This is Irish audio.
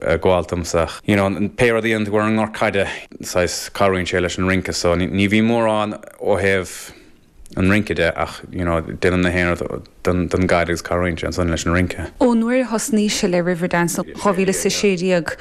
Ag gabháil domsa ach you know pé rud a dhéanann tú ar an ngort caide saghas cabhraíonn sé leis an rince so ní bhíonn mórán ó thaobh an rince de ach you know déanaim na haon rud don don gcaid agus cabhraíonn sé ansan leis an rince. Ón uair a thosnaís le Riverdance 2016.